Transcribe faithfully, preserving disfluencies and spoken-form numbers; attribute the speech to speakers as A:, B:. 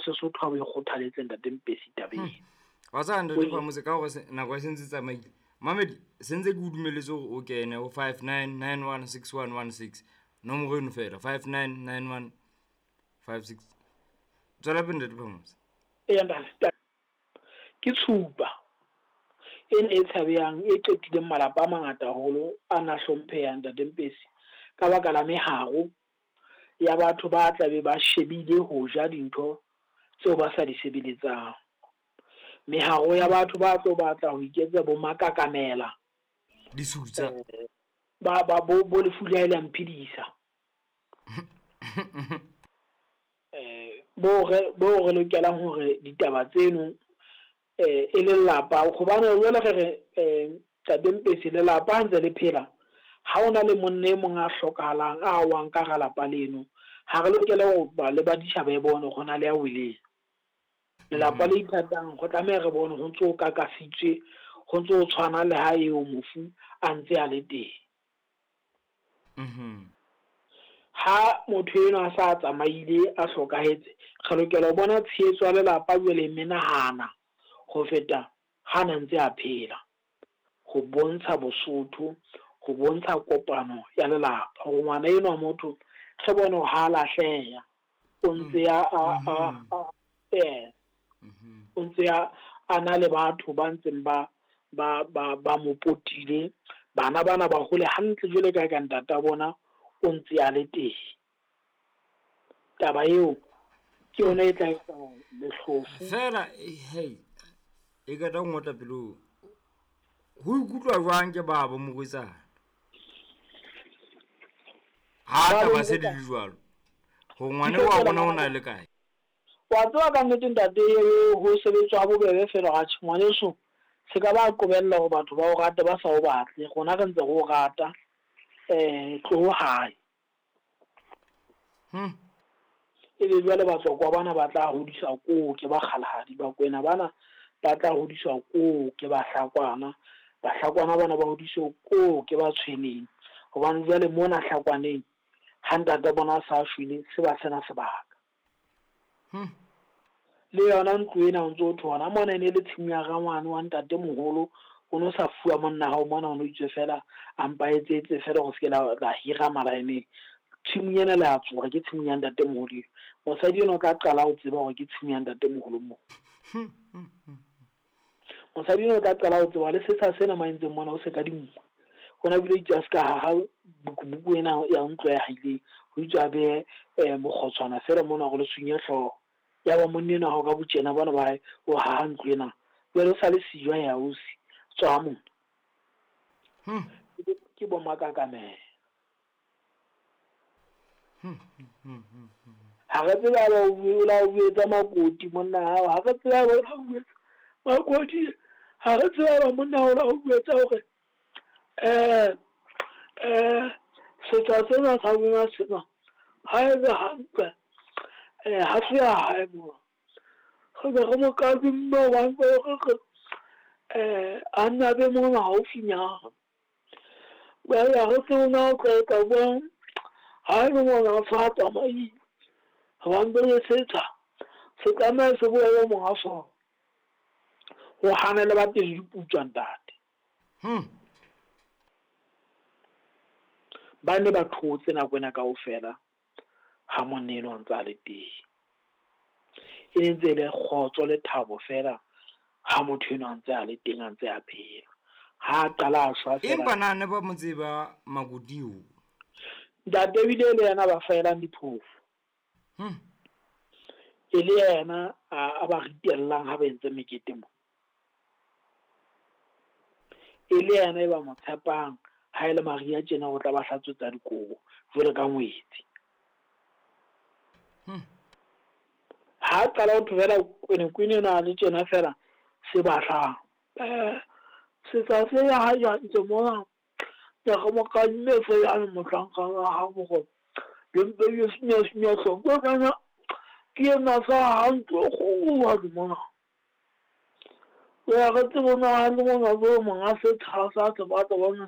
A: Sesotho ha bo e kgothaletse ntate Mpesi tabeng.
B: Wa tseba ntate Phamotse ka hore nako e sentse tsamaile. Mamedi sentse ke o dumelletse hore o kene ho five nine nine one six one one six. Nomoro eno fela five nine nine one five six. Tswela pele ntate Phamotse.
A: Eya ntate. Ke tshupa ena e tshabehang e qetileng malapa a mangata haholo a na hlomphehang ntate Mpesi ka baka la meharo ya batho ba tlabe ba shebile ho ja dintho tseo ba sa di sebeletsang. Meharo ya batho ba tlo batla ho iketsa bo makakamela.
B: Disutsa.
A: Ba ba bo bo lefu le la mphidisa. Eh bo re bo re lokelang hore ditaba tseno eh e lelapa hobane jwale re re eh ntate Mpesi lelapa ha ntse le phela ha ona le monna e mong a hlokahalang a wang ka hara lapa leno ha re lokela ho ba le ba ditjhaba e bone hore hona le ya weleng. Lelapa le ithatang go tlameha re bone ho ntso kakasitswe ho ntso tshwana le ha eo mofu a ntse a le teng.
B: Mhm.
A: Ha motho enwa a sa tsamaile a hlokahetse re lokela ho bona tshehetso ya lelapa jwale menahana ho feta ha na ntse a phela ho bontsha Bosotho ho bontsha kopano ya lelapa hore ngwana enwa motho re bone hore ha lahleha o ntse a a a eh o ntse a a na le batho ba ntseng ba ba ba ba mo potile bana bana ba hole hantle jwale ka ka ntata bona o ntse a le teng. Taba eo ke yona e tla etsa lehlofu
B: fela hey e ka tla ngotla pelong ho ikutlwa jwang ke babo morwetsana ha taba se di le jwalo ho ngwane wa bona o na le kae?
A: Wa tseba ka nnete ntate ho sebetswa ha bobebe fela ha tjhe ngwaneso se ka ba qobella hore batho ba o rate ba sa o batle rona re ntse re o rata eh tloho hae.
B: Hmm.
A: Ebe jwale batswakwa bana ba tla hodiswa koo ke bakgalahadi ba kwena bana ba tla hodiswa koo ke bahlakwana bahlakwana bana ba hodiswa koo ke ba tshweneng hobane jwale mona hlakwaneng ha ntate bona a sa shwele se ba sena sebaka.
B: Hmm.
A: Le yona ntlo ena o ntso thona mona e ne le tshimo ya rangwane wa ntate moholo o no sa fuwa monna hao mona o no itswe fela a mpa etsetse fela go se la la hira malaeneng tshimo ena le a tsoha ke tshimo ya ntate moholo. Mosadi eno o tla qala ho tseba hore ke tshimo ya ntate moholo mo. Mosadi eno o tla qala ho tseba le setsha sena maentseng mona o se ka dingwe. Hona bile itse a ska ha bukubuku ena ya ntlo ya haileng ho itse a behe mokgotshwana fela mona hore le sunye hlooho. Ya ba monna enwa ha ka botjena bona ba hae o haha ntlo ena jwale o sa le siyo ya ausi tswa mona.
B: Hmm.
A: Ke bo makakamela.
B: Hmm hmm hmm.
A: Ha re tseba ba o la o etsa makoti monna hao ha re tseba ba o etsa makoti ha re tseba ba monna o la o etsa hore eh eh setsa sena sa bona sena ha e le hantle eh ha se ya hae mo re be re mo kadimme hobane re eh a nna be mona haufinyana jwale ha re tsebe na o tla etsa jwang ha e le mona a sa tsamaile hobane jwale setsha se tlameha se boele monga sona ho hana le ba pele diputswa ntate.
B: Hmm.
A: Ba ne ba thotse nako ena kaofela ha monna enwa a ntse a le teng. E ne ntse e le kgotso le thabo fela ha motho enwa a ntse a le teng a ntse a phela. Ha a qala a shwa fela.
B: Empa na ne ba mo tseba makoti o?
A: Ntate ebile le yena ba faelang diphofu.
B: Hmm.
A: E le yena a ba ritellang ha ba entse mekete mo. E le yena e ba mo tshepang ha e le Maria tjena o tla ba hlatswetsa dikobo jwalo ka ngwetsi.
B: Hmm.
A: Ha qala ho thobela kwenekwene ena le tjena fela se batlang. Eh setsa se ya ha ya ntse mona ya go mo kadimme fela mohlanka wa hao hore le mpe le senya senya hloko kana ke ena sa hantle kgolo ha di mona. Ya re tsebe na le mona bo monga setsha sa se batla bona